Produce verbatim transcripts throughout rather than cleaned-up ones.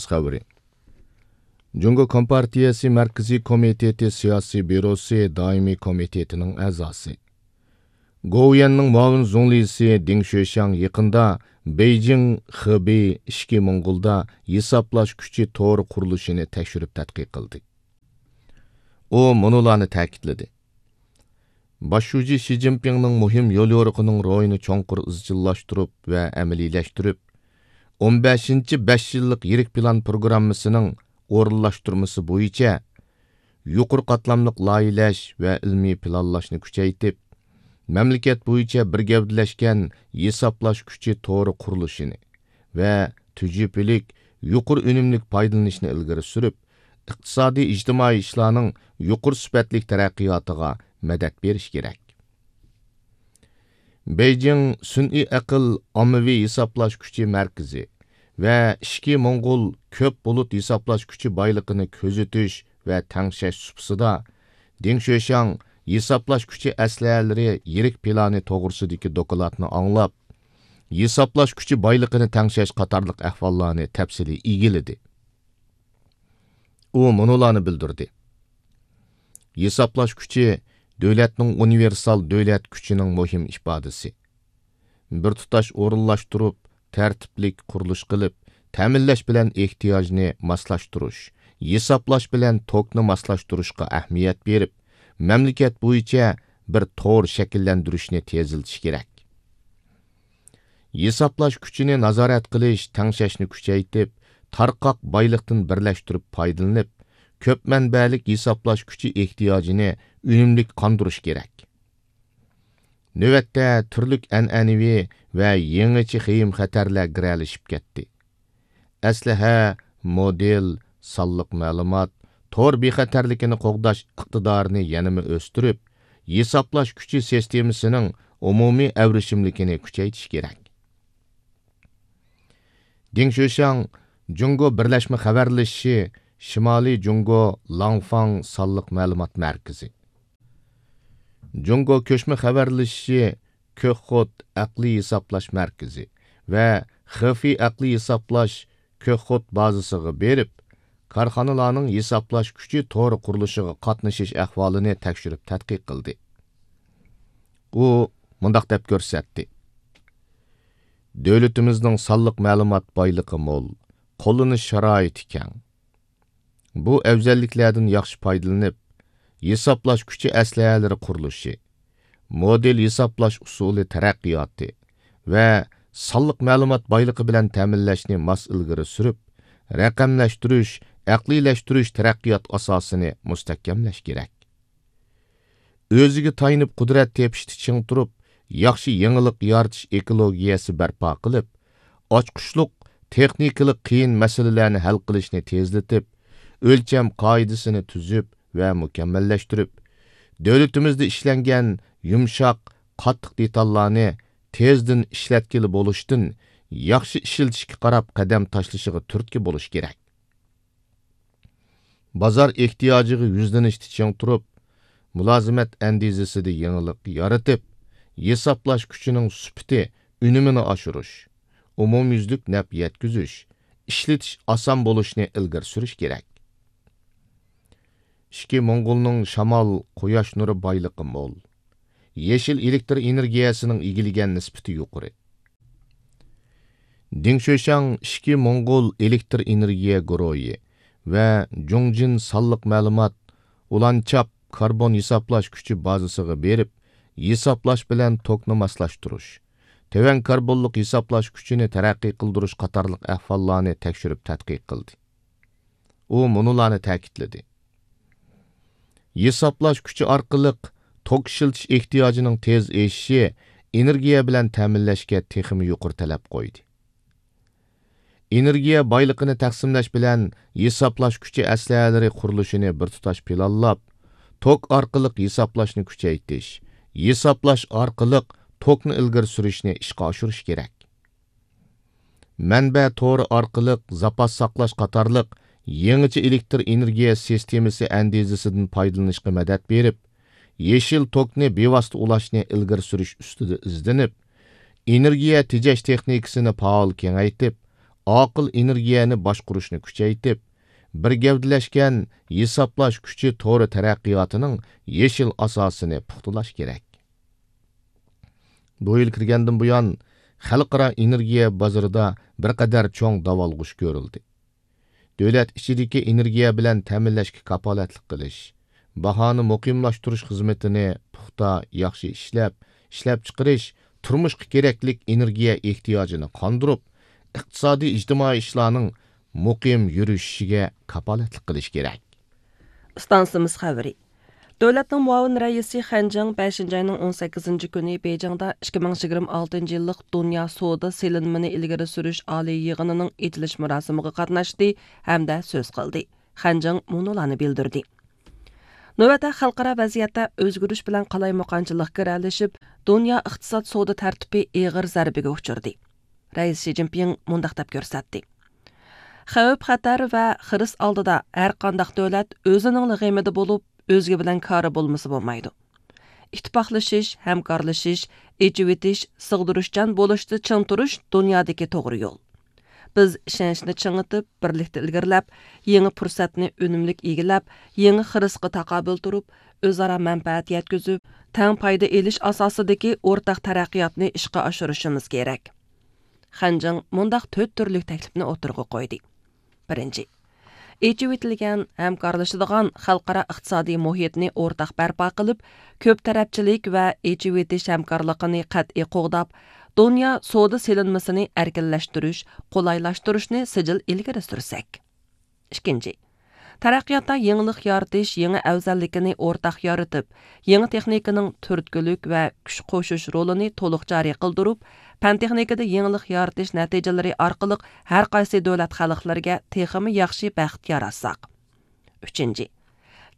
خەۋىرى. جۇڭگو كومپارتىيەسى مەركىزىي كومىتېتى سىياسىي بيۇروسى دائىمىي كومىتېتىنىڭ ئەزاسى، گوۋۇيۈەننىڭ مۇئاۋىن زۇڭلىسى دېڭ شۆشياڭ يېقىندا بېيجىڭ خېبېي ئىچكى موڭغۇلدا ھېسابلاش كۈچى تورى قۇرۇلۇشىنى تەكشۈرۈپ تەتقىق قىلدى. ئۇ مۇنۇلارنى تەكىتلىدى: باش شۇجى شى جىنپىڭنىڭ مۇھىم يوليورۇقىنىڭ روھىنى چوڭقۇر ئىزچىللاشتۇرۇپ ۋە ئەمەلىيلەشتۈرۈپ، ئون بەشىنچى بەش يىللىق يىرىك پىلان پروگراممىسىنىڭ ئورۇنلاشتۇرمىسى بويىچە يۇقىرى قاتلاملىق لايىھەلەش ۋە ئىلمىي پىلانلاشنى كۈچەيتىپ، مەملىكەت بويىچە بىر گەۋدىلەشكەن ھېسابلاش كۈچى تورى قۇرۇلۇشىنى ۋە تۈجۈپىلىك يۇقىرى ئۈنۈملۈك پايدىلىنىشنى ئىلگىرى سۈرۈپ، ئىقتىسادىي، ئىجتىمائىي ئىشلارنىڭ يۇقىرى سۈپەتلىك تەرەققىياتىغا مەدەت بېرىش كېرەك. بېيجىڭ سۈنئىي ئەقىل ئاممىۋى ھېسابلاش كۈچى مەركىزى ۋە ئىچكى موڭغۇل كۆپ بۇلۇت ھېسابلاش كۈچى بايلىقىنى كۆزىتىش ۋە تەڭشەش سۇپىسىدا دېڭ شۆشياڭ ھېسابلاش كۈچى ئەسلىھەلىرى يىرىك پىلانى توغرىسىدىكى دوكلاتنى ئاڭلاپ، ھېسابلاش كۈچى بايلىقىنى تەڭشەش قاتارلىق ئەھۋاللارنى تەپسىلىي ئىگىلىدى. ئۇ مۇنۇلارنى بىلدۈردى: ھېسابلاش كۈچى دۆلەتنىڭ ئۇنىۋېرسال دۆلەت كۈچىنىڭ مۇھىم ئىپادىسى. بىر تۇتاش ئورۇنلاشتۇرۇپ، تەرتىپلىك قۇرۇلۇش قىلىپ، تەمىنلەش بىلەن ئېھتىياجنى ماسلاشتۇرۇش، ھېسابلاش بىلەن توكنى ماسلاشتۇرۇشقا ئەھمىيەت بېرىپ، مەملىكەت بويىچە بىر تور شەكىللەندۈرۈشنى تېزلىتىش كېرەك. ھېسابلاش كۈچىنى نازارەت قىلىش، تەڭشەشنى كۈچەيتىپ، تارقاق بايلىقتىن بىرلەشتۈرۈپ پايدىلىنىپ، كۆپ مەنبەلىك ھېسابلاش كۈچى ئېھتىياجىنى ئۈنۈملۈك قاندۇرۇش كېرەك. نۆۋەتتە تۈرلۈك ئەنئەنىۋى ۋە يېڭىچە خېيىم-خەتەرلەر گىرەلىشىپ كەتتى. ئەسلىھە، مودېل، سانلىق مەلۇمات، تور بىخەتەرلىكىنى قوغداش ئىقتىدارىنى يەنىمۇ ئۆستۈرۈپ، ھېسابلاش كۈچى سىستېمىسىنىڭ ئومۇمىي ئەۋرىشىملىكىنى كۈچەيتىش كېرەك. دېڭ شۆشياڭ جۇڭگو بىرلەشمە خەۋەرلىشىشى شىمالىي جۇڭگو لاڭفاڭ سانلىق مەلۇمات مەركىزى، جۇڭگو كۆچمە خەۋەرلىشىشى كۆكخوت ئەقلىي ھېسابلاش مەركىزى ۋە خېفېي ئەقلىي ھېسابلاش كۆكخوت بازىسىغا بېرىپ، كارخانىلارنىڭ ھېسابلاش كۈچى تورى قۇرۇلۇشىغا قاتنىشىش ئەھۋالىنى تەكشۈرۈپ تەتقىق قىلدى. ئۇ مۇنداق دەپ كۆرسەتتى: دۆلىتىمىزنىڭ سانلىق مەلۇمات بايلىقى مول، قوللىنىش شارائىتى كەڭ. بۇ ئەۋزەللىكلەردىن ياخشى پايدىلىنىپ، ھېسابلاش كۈچى ئەسلىھەلىرى قۇرۇلۇشى، مودېل ھېسابلاش ئۇسۇلى تەرەققىياتى ۋە سانلىق مەلۇمات بايلىقى بىلەن تەمىنلەشنى ماس ئىلگىرى سۈرۈپ، رەقەملەشتۈرۈش، ئەقلىيلەشتۈرۈش تەرەققىيات ئاساسىنى مۇستەھكەملەش كېرەك. ئۆزىگە تايىنىپ قۇدرەت تېپىشتا چىڭ تۇرۇپ، ياخشى يېڭىلىق يارىتىش ئېكولوگىيەسى بەرپا قىلىپ، ئاچقۇچلۇق تېخنىكىلىق قىيىن مەسىلىلەرنى ھەل قىلىشنى تېزلىتىپ، ئۆلچەم قائىدىسىنى تۈزۈپ ۋە مۇكەممەللەشتۈرۈپ، دۆلىتىمىزدە ئىشلەنگەن يۇمشاق، قاتتىق دېتاللارنى تېزدىن ئىشلەتكىلى بولۇشتىن ياخشى ئىشلىتىشكە قاراپ قەدەم تاشلىشىغا تۈرتكە بولۇش كېرەك. بازار ئېھتىياجىغا يۈزلىنىشتە چىڭ تۇرۇپ، مۇلازىمەت ئەندىزىسىدە يېڭىلىق يارىتىپ، ھېسابلاش كۈچىنىڭ سۈپىتى، ئۈنۈمىنى ئاشۇرۇش، ئومۇميۈزلۈك نەپ يەتكۈزۈش، ئىشلىتىش ئاسان بولۇشنى ئىلگىرى سۈرۈش كېرەك. ئىچكى موڭغۇلنىڭ شامال، قۇياش نۇرى بايلىقى مول. يېشىل ئېلېكتر ئېنېرگىيەسىنىڭ ئىگىلىگەن نىسبىتى يۇقىرى. دېڭ شۆشياڭ ئىچكى موڭغۇل ئېلېكتر ئېنېرگىيە گۇرۇھى ۋە جۇڭجىن سانلىق مەلۇمات ئۇلانچاپ كاربون ھېسابلاش كۈچى بازىسىغا بېرىپ، ھېسابلاش بىلەن توكنى ماسلاشتۇرۇش، تۆۋەن كاربونلۇق ھېسابلاش كۈچىنى تەرەققىي قىلدۇرۇش قاتارلىق ئەھۋاللارنى تەكشۈرۈپ تەتقىق قىلدى. ئۇ مۇنۇلارنى تەكىتلىدى: ھېسابلاش كۈچى ئارقىلىق توك ئىشلىتىش ئېھتىياجىنىڭ تېز ئېشىشى ئېنېرگىيە بىلەن تەمىنلەشكە تېخىمۇ يۇقىرى تەلەپ قويدى. ئېنېرگىيە بايلىقىنى تەقسىملەش بىلەن ھېسابلاش كۈچى ئەسلىھەلىرى قۇرۇلۇشىنى بىر تۇتاش پىلانلاپ، توك ئارقىلىق ھېسابلاشنى كۈچەيتىش، ھېسابلاش ئارقىلىق توكنى ئىلگىرى سۈرۈشنى ئىشقا ئاشۇرۇش كېرەك. مەنبە تورى ئارقىلىق زاپاس ساقلاش قاتارلىق يېڭىچە ئېلېكتر ئېنېرگىيە سىستېمىسى ئەندىزىسىدىن پايدىلىنىشقا مەدەت بېرىپ، يېشىل توكنى بىۋاسىتە ئۇلاشنى ئىلگىرى سۈرۈش ئۈستىدە ئىزدىنىپ، ئېنېرگىيە تېجەش تېخنىكىسىنى پائال كېڭەيتىپ، ئاقىل ئېنېرگىيەنى باشقۇرۇشنى كۈچەيتىپ، بىر گەۋدىلەشكەن ھېسابلاش كۈچى تورى تەرەققىياتىنىڭ يېشىل ئاساسىنى پۇختىلاش كېرەك. بۇ يىل كىرگەندىن بۇيان، خەلقئارا ئېنېرگىيە بازىرىدا بىر قەدەر چوڭ داۋالغۇش كۆرۈلدى. دۆلەت ئىچىدىكى ئېنېرگىيە بىلەن تەمىنلەشكە كاپالەتلىك قىلىش، باھانى مۇقىملاشتۇرۇش خىزمىتىنى پۇختا، ياخشى ئىشلەپ، ئىشلەپچىقىرىش، تۇرمۇشقا كېرەكلىك ئېنېرگىيە ئېھتىياجىنى قاندۇرۇپ، ئىقتىسادىي، ئىجتىمائىي ئىشلارنىڭ مۇقىم يۈرۈشۈشىگە كاپالەتلىك قىلىش كېرەك. ئىستانسىمىز خەۋىرى. دۆلەتنىڭ مۇئاۋىن رەئىسى خەن جىڭ بەشىنچى ئاينىڭ ئون سەككىزىنچى كۈنى بېيجىڭدا ئىككى مىڭ يىگىرمە ئالتىنچى يىللىق دۇنيا سودا سېلىنمىنى ئىلگىرى سۈرۈش ئالىي يىغىنىنىڭ ئېچىلىش مۇراسىمىغا قاتناشتى ھەمدە سۆز قىلدى. خەن جىڭ مۇنۇلارنى بىلدۈردى. نۆۋەتتە خەلقئارا ۋەزىيەتتە ئۆزگىرىش بىلەن قالايمىقانچىلىق گىرەلىشىپ، دۇنيا ئىقتىساد سودا تەرتىپى ئېغىر زەربىگە ئۇچرىدى. رەئىس شى جىنپىڭ مۇنداق دەپ كۆرسەتتى: خەۋپ-خەتەر ۋە خىرىس ئالدىدا ھەرقانداق دۆلەت ئۆزىنىڭلا غېمىدە بولۇپ، ئۆزگە بىلەن كارى بولمىسا بولمايدۇ. ئىتتىپاقلىشىش، ھەمكارلىشىش، ئېچىۋېتىش، سىغدۇرۇشچان بولۇشتا چىڭ تۇرۇش دۇنيادىكى توغرا يول. بىز ئىشەنچنى چىڭىتىپ، بىرلىكتە ئىلگىرىلەپ، يېڭى پۇرسەتنى ئۈنۈملۈك ئىگىلەپ، يېڭى خىرىسقا تاقابىل تۇرۇپ، ئۆزئارا مەنپەئەت يەتكۈزۈپ، تەڭ پايدا ئېلىش ئاساسىدىكى ئورتاق تەرەققىياتنى ئىشقا ئاشۇرۇشىمىز كېرەك. خەن جىڭ مۇنداق تۆت تۈرلۈك تەكلىپنى ئوتتۇرىغا قويدى. بىرىنچى، ئېچىۋېتىلگەن، ھەمكارلىشىدىغان خەلقئارا ئىقتىسادىي مۇھىتنى ئورتاق بەرپا قىلىپ، كۆپ تەرەپچىلىك ۋە ئېچىۋېتىش ھەمكارلىقىنى قەتئىي قوغداپ، دۇنيا سودا سېلىنمىسىنى ئەركىنلەشتۈرۈش، قولايلاشتۇرۇشنى سىجىل ئىلگىرى سۈرسەك. ئىككىنچى، تەرەققىياتتا يېڭىلىق يارىتىش يېڭى ئەۋزەللىكىنى ئورتاق يارىتىپ، يېڭى تېخنىكىنىڭ تۈرتكىلىك ۋە كۈچ قوشۇش رولىنى تولۇق جارى قىلدۇرۇپ، پەن-تېخنىكىدا يېڭىلىق يارىتىش نەتىجىلىرى ئارقىلىق ھەر قايسى دۆلەت خەلقلىرىگە تېخىمۇ ياخشى بەخت ياراتساق. ئۈچىنچى،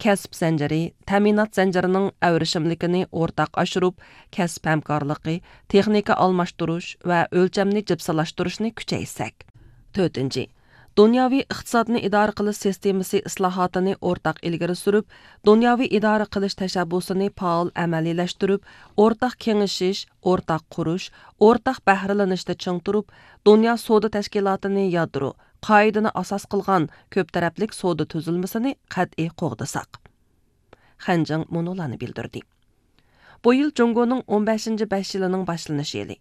كەسىپ زەنجىرى، تەمىنات زەنجىرىنىڭ ئەۋرىشىملىكىنى ئورتاق ئاشۇرۇپ، كەسىپ ھەمكارلىقى، تېخنىكا ئالماشتۇرۇش ۋە ئۆلچەمنى جىپسىلاشتۇرۇشنى كۈچەيتسەك. تۆتىنچى، دۇنياۋى ئىقتىسادنى ئىدارە قىلىش سىستېمىسى ئىسلاھاتىنى ئورتاق ئىلگىرى سۈرۈپ، دۇنياۋى ئىدارە قىلىش تەشەببۇسىنى پائال ئەمەلىيلەشتۈرۈپ، ئورتاق كېڭىشىش، ئورتاق قۇرۇش، ئورتاق بەھرىلىنىشتا چىڭ تۇرۇپ، دۇنيا سودا تەشكىلاتىنى يادرو، قائىدىنى ئاساس قىلغان كۆپ تەرەپلىك سودا تۈزۈلمىسىنى قەتئىي قوغدىساق. خەن جىڭ مۇنۇلارنى بىلدۈردى. بۇ يىل جۇڭگونىڭ ئون بەشىنچى بەش يىلىنىڭ باشلىنىش يىلى.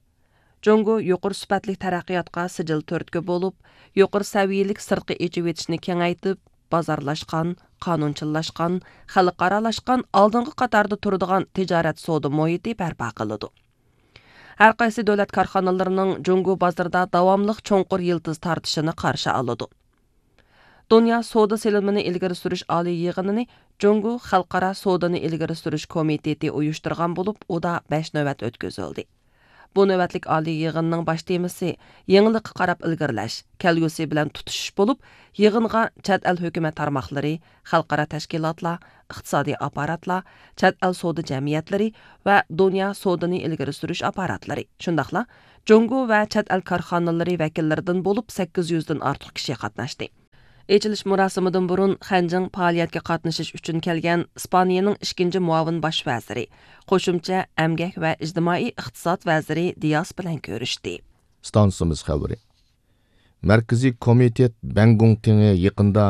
جۇڭگو يۇقىرى سۈپەتلىك تەرەققىياتقا سىجىل تۈرتكە بولۇپ، يۇقىرى سەۋىيەلىك سىرتقى ئېچىۋېتىشنى كېڭەيتىپ، بازارلاشقان، قانۇنچىللاشقان، خەلقئارالاشقان، ئالدىنقى قاتاردا تۇرىدىغان تىجارەت سودا مۇھىتى بەرپا قىلىدۇ. ھەر قايسى دۆلەت كارخانىلىرىنىڭ جۇڭگو بازىرىدا داۋاملىق چوڭقۇر يىلتىز تارتىشىنى قارشى ئالىدۇ. دۇنيا سودا سېلىنمىنى ئىلگىرى سۈرۈش ئالىي يىغىنىنى جۇڭگو خەلقئارا سودىنى ئىلگىرى سۈرۈش كومىتېتى ئۇيۇشتۇرغان بولۇپ، ئۇدا بەش نۆۋەت ئۆتكۈزۈلدى. بۇ نۆۋەتلىك ئالىي يىغىننىڭ باش تېمىسى يېڭىلىققا قاراپ ئىلگىرىلەش، كەلگۈسى بىلەن تۇتىشىش بولۇپ، يىغىنغا چەت ئەل ھۆكۈمەت تارماقلىرى، خەلقئارا تەشكىلاتلار، ئىقتىسادىي ئاپپاراتلار، چەت ئەل سودا جەمئىيەتلىرى ۋە دۇنيا سودىنى ئىلگىرى سۈرۈش ئاپپاراتلىرى، شۇنداقلا جۇڭگو ۋە چەت ئەل كارخانىلىرى ۋەكىللىرىدىن بولۇپ سەككىز يۈزدىن ئارتۇق كىشى قاتناشتى. ئېچىلىش مۇراسىمىدىن بۇرۇن خەنجىڭ پائالىيەتكە قاتنىشىش ئۈچۈن كەلگەن ئىسپانىيەنىڭ ئىككىنچى مۇئاۋىن باش ۋەزىرى، قوشۇمچە ئەمگەك ۋە ئىجتىمائىي ئىقتىساد ۋەزىرى دىياس بىلەن كۆرۈشتى. ئىستانسىمىز خەۋىرى. مەركىزىي كومىتېت بەنگۇڭتىڭى يېقىندا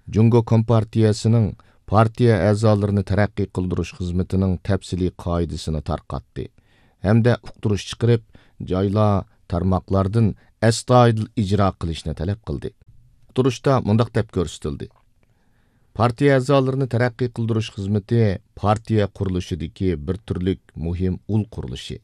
جۇڭگو كومپارتىيەسىنىڭ پارتىيە ئەزالىرىنى تەرەققىي قىلدۇرۇش خىزمىتىنىڭ تەپسىلىي قائىدىسىنى تارقاتتى ھەمدە ئۇقتۇرۇش چىقىرىپ، جايلار، تارماقلاردىن ئەستايىدىل ئىجرا قىلىشنى تەلەپ قىلدى. ئۇقتۇرۇشتا مۇنداق دەپ كۆرسىتىلدى: پارتىيە ئەزالىرىنى تەرەققىي قىلدۇرۇش خىزمىتى پارتىيە قۇرۇلۇشىدىكى بىر تۈرلۈك مۇھىم ئۇل قۇرۇلۇشى.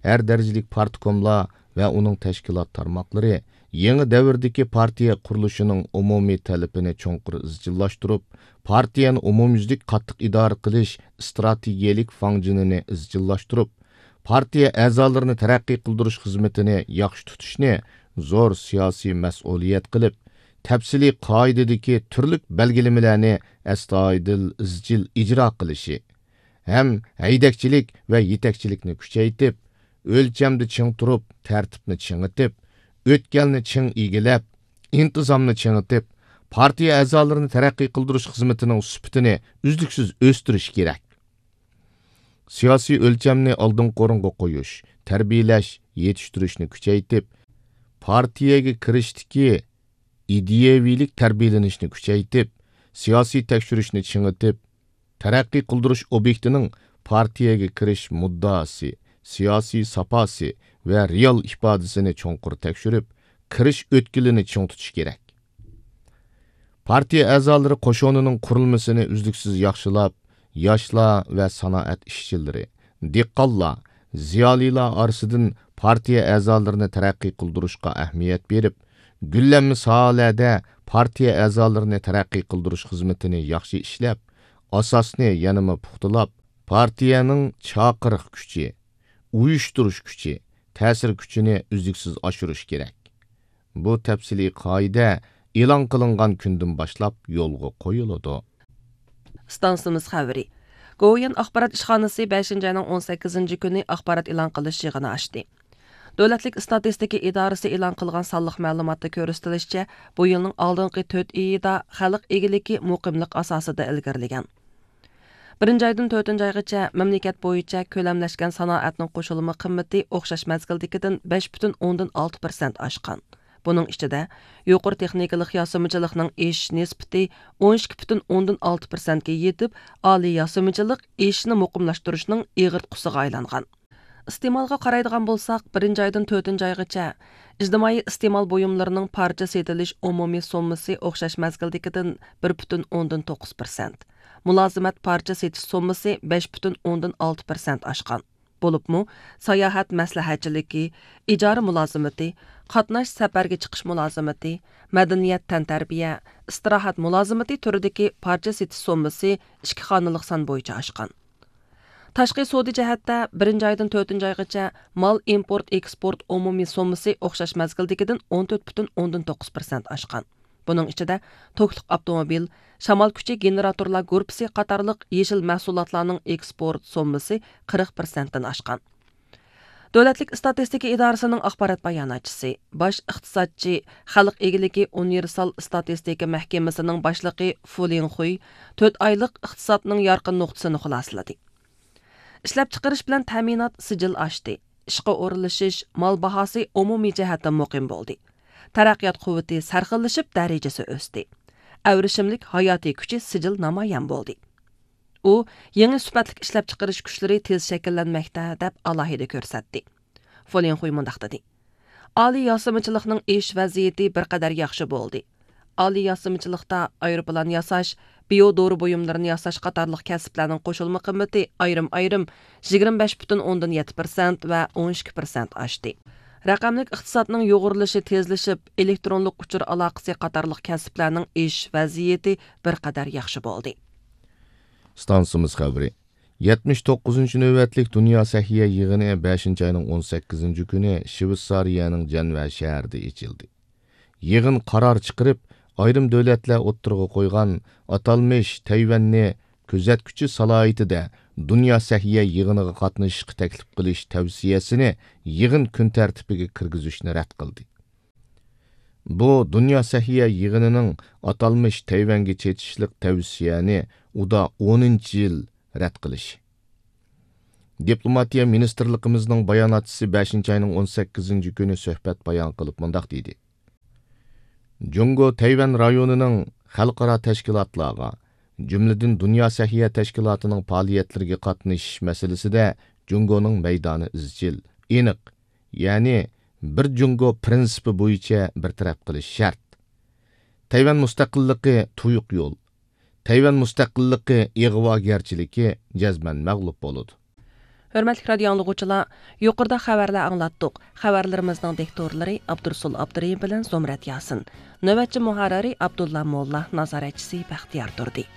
ھەر دەرىجىلىك پارتكوملار ۋە ئۇنىڭ تەشكىلات تارماقلىرى يېڭى دەۋردىكى پارتىيە قۇرۇلۇشىنىڭ ئومۇمىي تەلىپىنى چوڭقۇر ئىزچىللاشتۇرۇپ، پارتىيەنى ئومۇميۈزلۈك قاتتىق ئىدارە قىلىش ئىستراتېگىيەلىك فاڭجېنىنى ئىزچىللاشتۇرۇپ، پارتىيە ئەزالىرىنى تەرەققىي قىلدۇرۇش خىزمىتىنى ياخشى تۇتۇشنى زور سىياسىي مەسئۇلىيەت قىلىپ، تەپسىلىي قائىدىدىكى تۈرلۈك بەلگىلىمىلەرنى ئەستايىدىل ئىزچىل ئىجرا قىلىشى، ھەم ھەيدەكچىلىك ۋە يېتەكچىلىكنى كۈچەيتىپ، ئۆلچەمدە چىڭ تۇرۇپ، تەرتىپنى چىڭىتىپ، ئۆتكەلنى چىڭ ئىگىلەپ، ئىنتىزامنى چىڭىتىپ، پارتىيە ئەزالىرىنى تەرەققىي قىلدۇرۇش خىزمىتىنىڭ سۈپىتىنى ئۈزلۈكسىز ئۆستۈرۈش كېرەك. سىياسىي ئۆلچەمنى ئالدىنقى ئورۇنغا قويۇش، تەربىيەلەش، يېتىشتۈرۈشنى كۈچەيتىپ، پارتىيەگە كىرىشتىكى ئىدىيەۋىلىك تەربىيەلىنىشنى كۈچەيتىپ، سىياسىي تەكشۈرۈشنى چىڭىتىپ، تەرەققىي قىلدۇرۇش ئوبيېكتىنىڭ پارتىيەگە كىرىش مۇددىئاسى، سىياسىي ساپاسى ۋە رېئال ئىپادىسىنى چوڭقۇر تەكشۈرۈپ، كىرىش ئۆتكىلىنى چىڭ تۇتۇش كېرەك. پارتىيە ئەزالىرى قوشۇنىنىڭ قۇرۇلمىسىنى ئۈزلۈكسىز ياخشىلاپ، ياشلار ۋە سانائەت ئىشچىلىرى، دېھقانلار، زىيالىيلار ئارىسىدىن پارتىيە ئەزالىرىنى تەرەققىي قىلدۇرۇشقا ئەھمىيەت بېرىپ، گۈللەنمە ساھەلەردە پارتىيە ئەزالىرىنى تەرەققىي قىلدۇرۇش خىزمىتىنى ياخشى ئىشلەپ، ئاساسنى يەنىمۇ پۇختىلاپ، پارتىيەنىڭ چاقىرىق كۈچى، ئۇيۇشتۇرۇش كۈچى، تەسىر كۈچىنى ئۈزلۈكسىز ئاشۇرۇش كېرەك. بۇ تەپسىلىي قائىدە ئېلان قىلىنغان كۈندىن باشلاپ يولغا قويۇلىدۇ. ئىستانسىمىز خەۋىرى. گوۋۇيۈەن ئاخبارات ئىشخانىسى بەشىنچى ئاينىڭ ئون سەككىزىنچى كۈنى ئاخبارات ئېلان قىلىش يىغىنى ئاچتى. دۆلەتلىك ئىستاتىستىكا ئىدارىسى ئېلان قىلغان سانلىق مەلۇماتتا كۆرسىتىلىشىچە، بۇ يىلنىڭ ئالدىنقى تۆت ئېيىدا خەلق ئىگىلىكى مۇقىملىق ئاساسىدا ئىلگىرىلىگەن. بىرىنچى ئايدىن تۆتىنچى ئايغىچە مەملىكەت بويىچە كۆلەملەشكەن سانائەتنىڭ قوشۇلما قىممىتى ئوخشاش مەزگىلدىكىدىن بەش پۈتۈن ئوندىن ئالتە پىرسەنت ئاشقان. بۇنىڭ ئىچىدە، يۇقىرى تېخنىكىلىق ياسىمىچىلىقنىڭ ئېشىش نىسبىتى ئون ئىككى پۈتۈن ئوندىن ئالتە پىرسەنتكە يېتىپ، ئالىي ياسىمىچىلىق ئېشىشنى مۇقىملاشتۇرۇشنىڭ ئېغىرتقۇسىغا ئايلانغان. ئىستېمالغا قارايدىغان بولساق، بىرىنچى ئايدىن تۆتىنچى ئايغىچە ئىجتىمائىي ئىستېمال بۇيۇملىرىنىڭ پارچە سېتىلىش ئومۇمىي سوممىسى ئوخشاش مەزگىلدىكىدىن بىر پۈتۈن ئوندىن توققۇز پىرسەنت، مۇلازىمەت پارچە سېتىش سوممىسى بەش پۈتۈن ئوندىن ئالتە پىرسەنت ئاشقان. بولۇپمۇ، ساياھەت مەسلىھەتچىلىكى، ئىجارە مۇلازىمىتى، قاتناش سەپەرگە چىقىش مۇلازىمىتى، مەدەنىيەت تەنتەربىيە، ئىستىراھەت مۇلازىمىتى تۈرىدىكى پارچە سېتىش سوممىسى ئىككى خانىلىق سان بويىچە ئاشقان. تاشقى سودا جەھەتتە، بىرىنچى ئايدىن تۆتىنچى ئايغىچە مال ئىمپورت ئېكسپورت ئومۇمىي سوممىسى ئوخشاش مەزگىلدىكىدىن ئون تۆت پۈتۈن ئوندىن توققۇز پىرسەنت ئاشقان. بۇنىڭ ئىچىدە توكلۇق ئاپتوموبىل، شامال كۈچى گېنېراتورلار گۇرۇپپىسى قاتارلىق يېشىل مەھسۇلاتلارنىڭ ئېكسپورت سوممىسى قىرىق پىرسەنتتىن ئاشقان. دۆلەتلىك ئىستاتىستىكا ئىدارىسىنىڭ ئاخبارات باياناتچىسى، باش ئىقتىسادچى، خەلق ئىگىلىكى ئۇنىۋېرسال ئىستاتىستىكا مەھكىمىسىنىڭ باشلىقى فۇ لىنخۇي تۆت ئايلىق ئىقتىسادنىڭ يارقىن نۇقتىسىنى خۇلاسىلىدى. ئىشلەپچىقىرىش بىلەن تەمىنات سىجىل ئاشتى. ئىشقا ئورۇنلىشىش، مال باھاسى ئومۇمىي جەھەتتىن مۇقىم بولدى. تەرەققىيات قۇۋۋىتى سەرخىللىشىپ، دەرىجىسى ئۆستى. ئەۋرىشىملىك ھاياتىي كۈچى سىجىل نامايان بولدى. ئۇ يېڭى سۈپەتلىك ئىشلەپچىقىرىش كۈچلىرى تېز شەكىللەنمەكتە، دەپ ئالاھىدە كۆرسەتتى. فۇ لىنخۇي مۇنداق دېدى: ئالىي ياسىمىچىلىقنىڭ ئېشىش ۋەزىيىتى بىر قەدەر ياخشى بولدى. ئالىي ياسىمىچىلىقتا ئايروپىلان ياساش، بىيو دورا بۇيۇملىرىنى ياساش قاتارلىق كەسىپلەرنىڭ قوشۇلما قىممىتى ئايرىم-ئايرىم يىگىرمە بەش پۈتۈن ئوندىن يەتتە پىرسەنت ۋە ئون ئىككى پىرسەنت ئاشتى. رەقەملىك ئىقتىسادنىڭ يۇغۇرۇلۇشى تېزلىشىپ، ئېلېكترونلۇق ئۇچۇر ئالاقىسى قاتارلىق كەسىپلەرنىڭ ئېشىش ۋەزىيىتى بىر قەدەر ياخشى بولدى. ئىستانسىمىز خەۋىرى. يەتمىش توققۇزىنچى نۆۋەتلىك دۇنيا سەھىيە يىغىنى بەشىنچى ئاينىڭ ئون سەككىزىنچى كۈنى شۋېتسارىيەنىڭ جەنۋە شەھىرىدە ئېچىلدى. يىغىن قارار چىقىرىپ، ئايرىم دۆلەتلەر ئوتتۇرىغا قويغان ئاتالمىش تەيۋەننى كۆزەتكۈچى سالاھىيىتىدە دۇنيا سەھىيە يىغىنىغا قاتنىشىشقا تەكلىپ قىلىش تەۋسىيەسىنى يىغىن كۈن تەرتىپىگە كىرگۈزۈشنى رەت قىلدى. بۇ دۇنيا سەھىيە يىغىنىنىڭ ئاتالمىش تەيۋەنگە چېتىشلىق تەۋسىيەنى ئۇدا ئونىنچى يىل رەت قىلىشى. دىپلوماتىيە مىنىستىرلىقىمىزنىڭ باياناتچىسى بەشىنچى ئاينىڭ ئون سەككىزىنچى كۈنى سۆھبەت بايان قىلىپ مۇنداق دېدى: جۇڭگو تەيۋەن رايونىنىڭ خەلقئارا تەشكىلاتلارغا، جۈملىدىن دۇنيا سەھىيە تەشكىلاتىنىڭ پائالىيەتلىرىگە قاتنىشىش مەسىلىسىدە جۇڭگونىڭ مەيدانى ئىزچىل، ئېنىق، يەنى بىر جۇڭگو پىرىنسىپى بويىچە بىر تەرەپ قىلىش شەرت. تەيۋەن مۇستەقىللىقى تۇيۇق يول، تەيۋەن مۇستەقىللىقى ئىغۋاگەرچىلىكى جەزمەن مەغلۇپ بولىدۇ. ھۆرمەتلىك رادىيو ئاڭلىغۇچىلار، يۇقىرىدا خەۋەرلەر ئاڭلاتتۇق. خەۋەرلىرىمىزنىڭ دىكتورلىرى ئابدۇرسۇل ئابدۇرېھىم بىلەن زۇمرەت ياسىن. نۆۋەتچى مۇھەررىرى ئابدۇللا موللا، نازارەتچىسى بەختىيار تۇردى.